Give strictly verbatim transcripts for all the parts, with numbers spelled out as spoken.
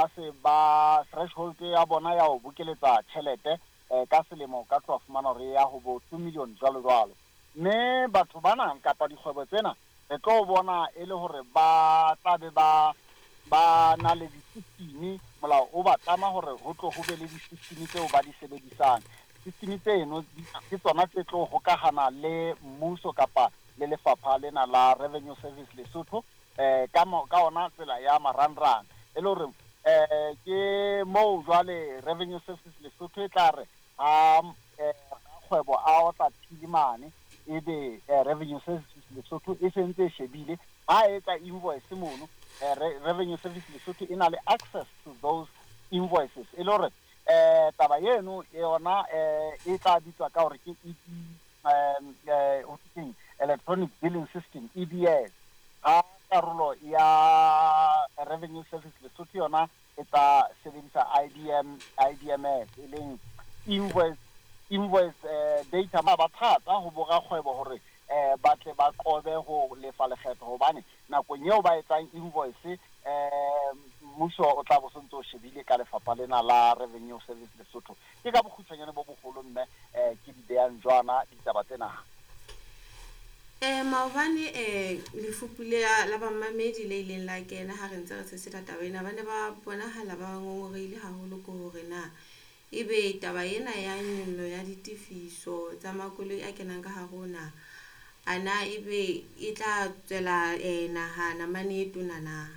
ba se ba threshold ya bona ya ho bokeletsa tjhelete eh, ka selemo ka tloha fumana hore ya ho bo two million jwalo jwalo. Mme batho bana kapa dikgwebo tsena re tlo bona e le hore ba tla be ba ba na le di-system. Molao o ba tlama hore ho tlo ho be le di-system tseo ba di sebedisang. System tseno ke tsona tse tlo hokahana le mmuso kapa le lefapha lena la Revenue Service Lesotho eh ka ka ona tsela ya marangrang, e le hore eh ke moo jwale Revenue Service Lesotho e tla re ha kgwebo a otla philimane, ebe Revenue Service Lesotho e sentse e shebile ha etsa invoice mono. Revenue Service Lesotho e na le access to those invoices, e le hore eh taba eno yona eh e tla bitswa ka hore ke E B, eh Electronic Billing System, E B S. Ha karolo ya Revenue Service Lesotho yona e tla sebedisa I D M, I D M S, e leng invoice, invoice eh, data. Ba thata ho borakgwebo hore eh ba tle ba qobe ho lefa lekgetho, hobane nakong eo ba etsang invoice eh mmuso o tla bo sontso o shebile ka lefapha lena la Revenue Service Lesotho. Ke ka bokgutshwanyane bo boholo mme eh ke di beyang jwana ditaba tsena. Eh maobane eh lefupu la bamamedi le ileng la kena ha re ntse re sesela taba ena, ba ne ba bonahala ba ngongoreile haholo ke hore na ebe taba ena ya nyollo ya ditefiso tsa makoloi a kenang ka hare ho naha, ana ebe e tla tswela eh naha namane e tona na?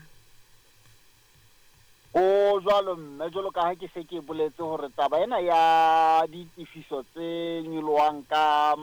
O jwalo mme, jwalo ka ha ke se ke boletse hore taba ena ya ditefiso tse nyolohang ka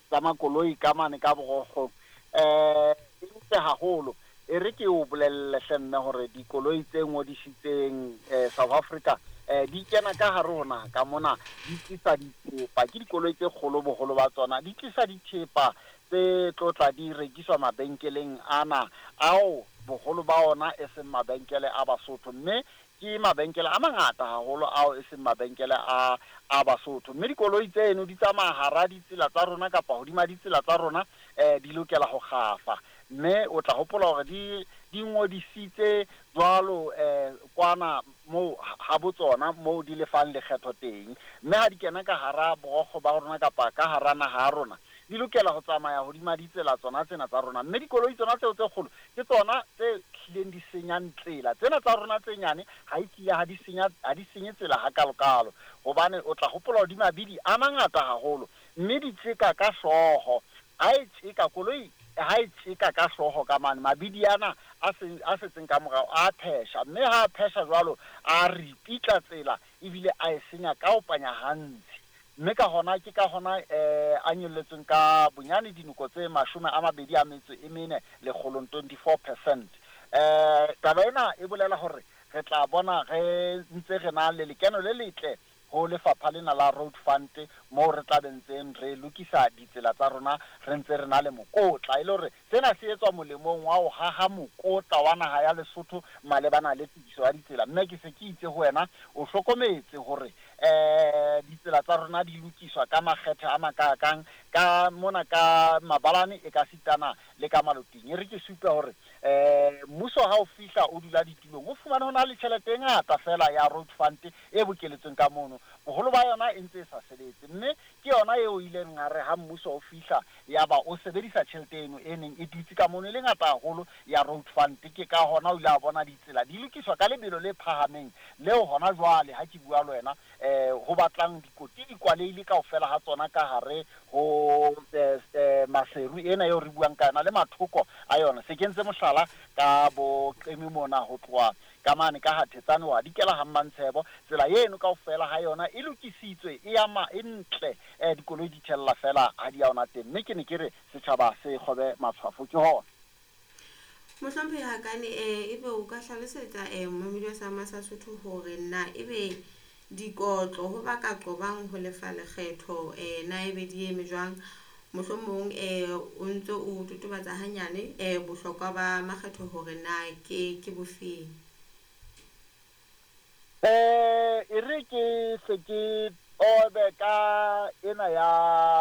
tsa makoloi ka mane ka borokgo eh e ntle haholo. E re ke o bolelle hle mme hore dikoloi tse ngodisitseng eh South Africa eh di kena ka hare ho naha ka mona, di tlisa dithepa. Ke dikoloi tse kgolo boholo ba tsona di tlisa dithepa tse tlo tla di rekiswa mabenkeleng ana ao boholo ba ona e seng mabenkele a Basotho, mme ke mabenkele a mangata haholo ao e seng mabenkele a a Basotho. Mme dikoloi tseno di tsamaya hara ditsela tsa rona kapa hodima ditsela tsa rona, eh di lokela ho kgafa. Mme o tla hopola hore di di ngodisitse jwalo eh kwana moo ha botsona moo di lefang lekgetho teng. Mme ha di kena ka hara borokgo ba rona kapa ka hara naha ya rona, di lokela ho tsamaya hodima ditsela tsona tsena tsa rona. Mme dikoloi tsona tseo tse kgolo ke tsona tse hlileng di senyang tsela. Tsena tsa rona tse nyane ha e tlile ha di senya, ha di senye tsela hakalokalo, hobane o tla hopola hore di mabidi a mangata haholo, mme di tjeka ka hlooho. Ha e tjeka koloi, ha e tjeka ka hlooho ka mane, mabidi ana a seng, a setseng ka morao a phesha, mme ha a phesha jwalo a ripitla tsela ebile a e senya ka ho panya hantsi. Mme ka hona ke ka hona eh a nyolletsweng ka bonyane dinoko tse mashome a mabedi a metso e mene lekgolong, twenty-four percent. Eh taba ena e bolela hore re tla bona re ntse re na le lekeno le letle ho lefapha lena la Road Fund, moo re tla be ntseng re lokisa ditsela tsa rona, re ntse re na le mokotla, e le hore sena se etswa molemong wa ho haha mokotla wa naha ya Lesotho malebana le tokiso ya ditsela. Mme ke se ke itse ho wena, o hlokometse hore eh ditsela tsa rona di lokiswa ka makgethe a makakang ka mona ka mabalane e ka sitana le ka maloting. E re ke supe hore eh mmuso ha o fihla o dula ditulong, o fumane ho na le tjhelete e ngata fela ya Road Fund e bokeletsweng ka mono, boholo ba yona e ntse e sa sebetse. Mme ke yona eo ileng ha re ha mmuso o fihla ya ba o sebedisa tjhelete eno e neng e dutse ka mono e le ngata haholo ya Road Fund. Ke ka hona o ile a bona ditsela di lokiswa ka lebelo le phahameng leo hona jwale ha ke bua le wena eh ho batlang dikoti di kwalehile kaofela ha tsona ka hare ho eh Maseru ena eo re buang ka yona le mathoko a yona. Se kentse mohlala ka bo Qemi mona ho tloha ka mane ka Hathetsane wa dikela ha Mmantshebo, tsela eno kaofela ha yona e lokisitswe, e ama e ntle, eh dikoloi di thella fela ha di ya ona teng. Mme ke ne ke re setjhaba se kgobe matshwafo ke hona. Mohlomphehi Hakane, eh ebe o ka hlalosetsa eh momamedi wa Sama sa Sotho hore na ebe dikotlo ho ba ka qobang ho lefa lekgetho eh na ebe di eme jwang? Mohlomong eh o ntso o totobatsa hanyane eh bohlokwa ba makgetho hore na ke ke bofeng? Eh e re ke se ke obe ka ena ya